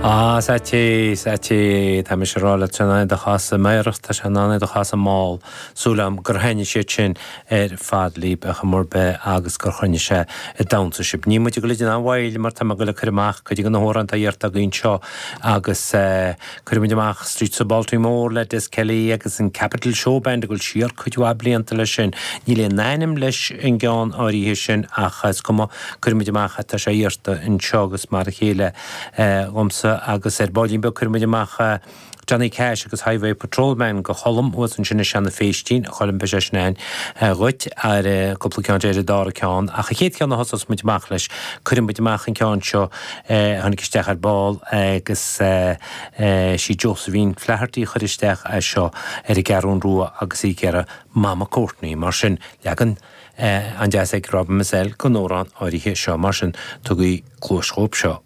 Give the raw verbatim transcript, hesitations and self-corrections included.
Á sea sea tá mise ag rá leat sin é do chasadh amárach tá sé in ann é do chasadh mall súil agam gur thaitnigh siad sin ar fad libh a chuma ar bith agus gur choinnigh sé ag damhsa sibh. Níl muid ag dul ag déanamh moill mar tá mé ag dul ag cur amach cuid de na hamhráin atá iarrta againn anseo agus cuirfidh muid amach Streets of Baltimore le Des Kelly agus an Capital Showband ag dul siar cuid mhaith blianta leis sin. Níl aon ainm leis an gceann áirithe sin ach is cuma cuirfidh muid amach tá sé iarrta anseo agus mar a chéile dhomsa agus ar baillín beag cuirfidh muid amach Johnny Cash agus Highway Patrolman go Cholm thuas ansin i Seanadh Phéistín a Choilm beidh sé sin ann dhuit ar cúpla ceann ar an dara ceann ach an chéad cheann a thosós muid amach leis cuirfidh muid amach an ceann seo a tháinig isteach ar ball agus sí Josephine Flaherty a chuir isteach é seo ar an gCeathrú Rua agus í ag iarraidh Mama Courtney mar sin leagan an-deas ag Robin Mizzell den amhrán áirithe seo mar sin tugaigí cluas dhóibh seo.